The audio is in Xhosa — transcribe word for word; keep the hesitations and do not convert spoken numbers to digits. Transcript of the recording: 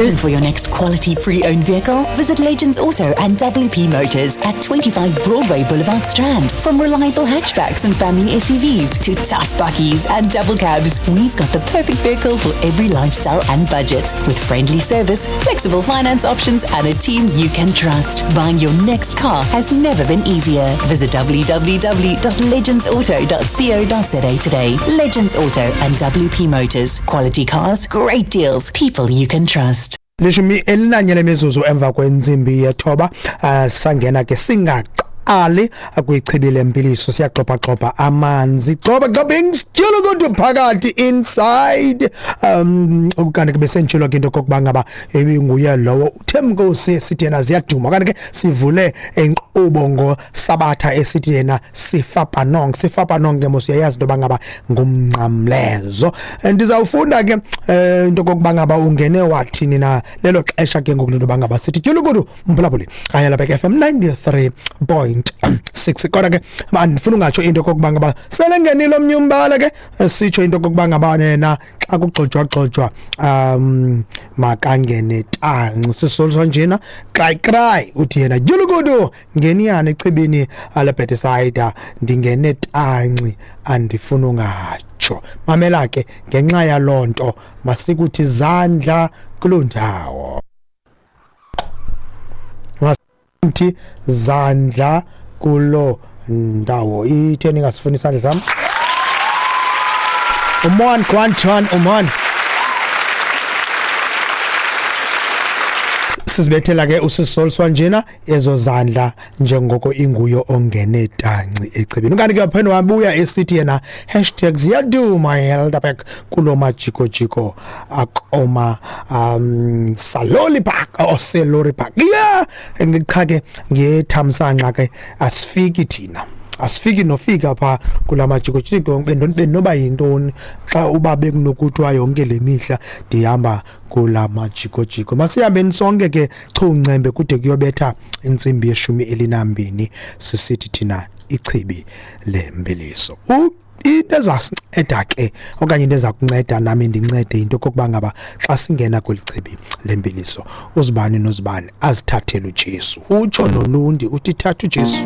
Looking for your next quality pre-owned vehicle? Visit Legends Auto and W P Motors at twenty-five Broadway Boulevard Strand. From reliable hatchbacks and family S U Vs to tough bakkies and double cabs, we've got the perfect vehicle for every lifestyle and budget. With friendly service, flexible finance options and a team you can trust. Buying your next car has never been easier. Visit w w w dot legends auto dot co dot z a today. Legends Auto and W P Motors. Quality cars, great deals, people you can trust. Lishumi elinanye lemizuzu emva kwentsimbi yethoba, sangena ke singaqali kwichibi lempiliso, siyaxopa-xopa amanzi, xoba xoba kodwa phakathi inside. Um kanti ke besentshilo ke into kokuba ngaba ibinguye lowo uThemkosi sithi yena ziyaduma. Kanti ke sivule inkqubo ngoSabatha esithi yena sifapanong, sifapanong ke mos uyayazi into yoba ngaba ngumnqamlezo. Ndizawufunda ke into kokuba ngaba ungene wathini na lelo xesha ke ngoku into yoba ngaba sithi tyulukudu mphulaphuli kanye lapha ke F M ninety-three point six. Kodwa ke andifuna ungatsho into kokuba ngaba selengenile omnye umbala ke sitsho into kokuba ngaba yena xa kugxojwa-gxojwa um makangene tanci sisolso njena cry cry uthi yena dyulukudu ngeniyana echibini leBethsaida ndingene tanci andifuna ungatsho. Mamela ke ngenxa yaloo nto masikuthi zandla kuloo ndawo, masithi zandla kuloo ndawo. Itheni ingasifuni isandla sam? Umon Kwanchon umon. Sizibethela ke usisolswa njena ezo zandla njengoko inguyo ongene tanci echibini. Kanti ke phela wabuya esithi yena hashtag ziyaduma Helderberg kulo majiko jiko akoma um Saloli Park or Selori Park. Yeah, ngicha ke ngethamsanqa ke asifiki thina. Asifiki nofika pha kula majiko jiko benoba yintoni xa uba bekunokuthiwa yonke le mihla ndihamba kula majiko jiko. Masihambeni sonke ke chuncembe kude kuyobetha intsimbi yeshumi elinambini sisithi thina ichibi lempiliso. Into ezasinceda ke okanye into ezakunceda nami ndincede into kokuba ngaba xa singena kweli chibi lempiliso uzibani nozibani azithathele uJesu. Utsho nolundi uthi thatha uJesu.